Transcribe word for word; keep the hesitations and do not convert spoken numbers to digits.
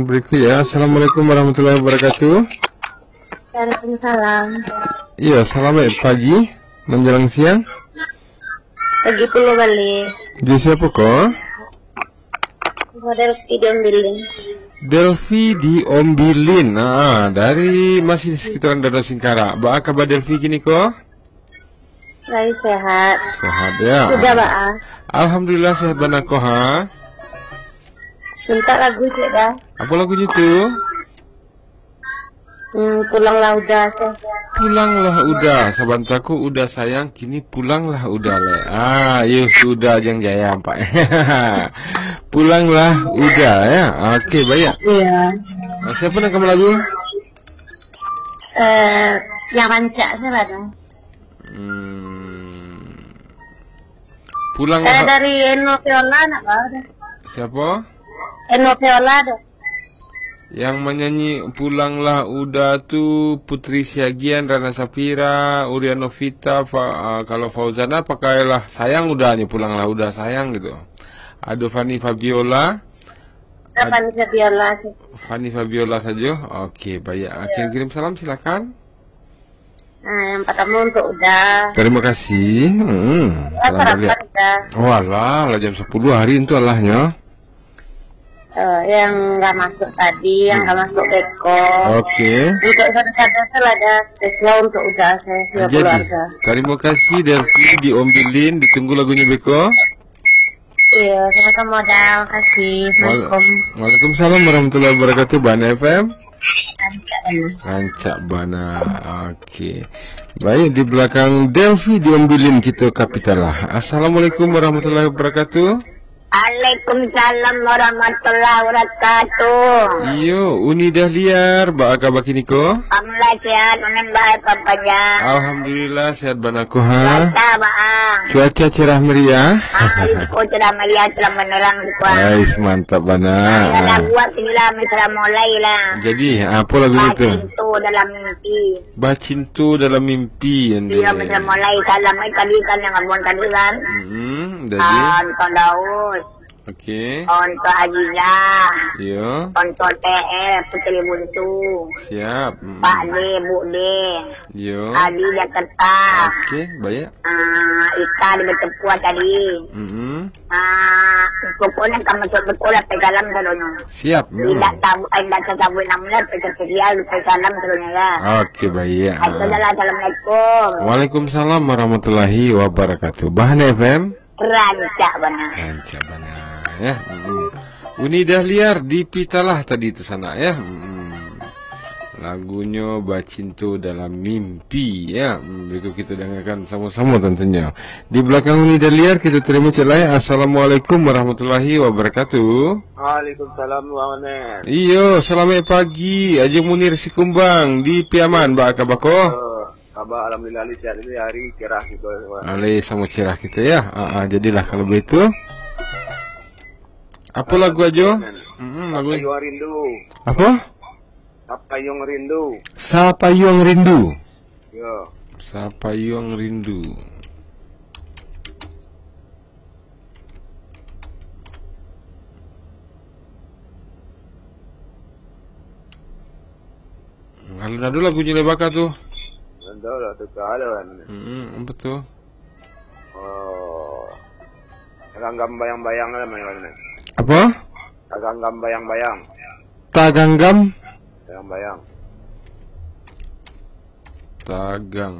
Berikut ya. Assalamualaikum warahmatullahi wabarakatuh. Waalaikumsalam. Iya, selamat pagi menjelang siang. Pagi pulo balik. Di siapa ko? Model video bilin. Delvi di Ombilin. Ah, dari masih sekitaran Danau Singkarak. Baa kaba Delvi kini ko? Lai sehat. Sehat ya. Sudah, Baa. Alhamdulillah sehat bana ko ha. Minta lagu cek dah. Apa lagunyo tu? Hmm, pulanglah udah tu. Pulanglah udah, sabanta ko udah sayang, kini pulanglah udah le. Ah, yo sudah jang jaya ampak. Pulanglah udah ya. Okey, baik. Iya. Ah, siapa nak kamu lagu? Eh, yang rancak saja lah dah. Hmm. Pulang Eh, lah. Dari Eno Viola nak ba dah. Siapa? Eno Viola dah. Yang menyanyi Pulanglah Uda tu Putri Siagian, Rana Safira, Urian Novita, Fa- ah, kalau Fauzana pakailah Sayang Udanyo, Pulanglah Uda Sayang gitu. Ado Fanny Fabiola. Ada Fanny Fabiola sih. Fanny Fabiola saja. Okey, baik. Ah, kirim-kirim salam silakan. Nah, yang pertama untuk Uda. Terima kasih. Hmm, Uda selamat sarapan lihat. Uda. Walah, lah jam sepuluh hari tu alahnyo. Eh, yang lah masuk tadi, yang lah masuk beko. Okey. Untuk saudara-saudara tu lah ada spesial untuk Uda, saya, saya Jadi, keluarga. Terima kasih Delvi di Ombilin, ditunggu lagunyo beko. Iya, sama-sama Uda, makasih. Wal- Assalamualaikum. Waalaikumsalam warahmatullahi wabarakatuh. Bana F M. Rancak bana. Rancak bana. Okey. Baik, di belakang Delvi di Ombilin kita kapital lah. Assalamualaikum warahmatullahi wabarakatuh. Waalaikumsalam warahmatullahi wabarakatuh. Iyo, Uni Dahliar, baa kaba kini ko? Alhamdulillah sehat, Unin baik, Bang Panjang. Alhamdulillah sehat bana ko ha. Cuaca, Bang. Cuaca cerah meriah. Ah, iko cerah meriah, cerah menerang di kuah. Ais, mantap bana. Nah, ada buat inilah, mesra mulai lah. Jadi, apa lagu itu? Bacinto dalam mimpi. Bacinto dalam mimpi, ande. Iya, mesra mulai. Salam, eh, tadi kan yang abang tadi kan. Hmm, jadi. Ah, Anton Daus. Okey. Ontok Azizah. Iyo. Ontok T L, Puteri Buntu. Siap. Mm-mm. Pak D, Bu D. Iyo. Adi Jakarta. Okey, baik. Ah, Ika di Betepuah tadi. Mm-mm. Ah, pokoknya kamu masuk betul lah, pegalam sadonyo. Siap. Mm. Tidak tabu, eh, tidak tabu namanya, pekerja, pegalam sadonyo ya. Okey, baik. Itu Ah. adalah assalamualaikum. Waalaikumsalam warahmatullahi wabarakatuh. Bahana F M. Rancak bana. Rancak bana, ya. Mm-mm. Uni Dahliar di Pitalah tadi tu sanak, ya. Mm-mm. Lagunyo Bacinto Dalam Mimpi, ya. Mm, berikut kita dengarkan sama-sama tentunya. Di belakang Uni Dahliar, kita terima cek lain. Assalamualaikum warahmatullahi wabarakatuh. Waalaikumsalam, Bang Onen. Iyo, selamat pagi. Ajo Munir Sikumbang di Piaman, baa kaba ko? Eh, Kaba, alhamdulillah, Ali sihat ini hari cerah gitu, Bang. Ali sama cerah kita ya. Ah, ah, jadilah kalau begitu. Apa lagu Ajo? Mm-mm, lagu Sapa Yuang Rindu. Apa? Sapa Yuang Rindu. Sapa Yuang Rindu. Yo. Sapa Yuang Rindu. Alun ado lagunyo lai baka tu. Alun ado lah, tu kalah kan. Hmm, apa tu? Oh. Taganggam bayang-bayang lah main. Apa? Taganggam bayang-bayang. Taganggam? Bayang-bayang. Tagang.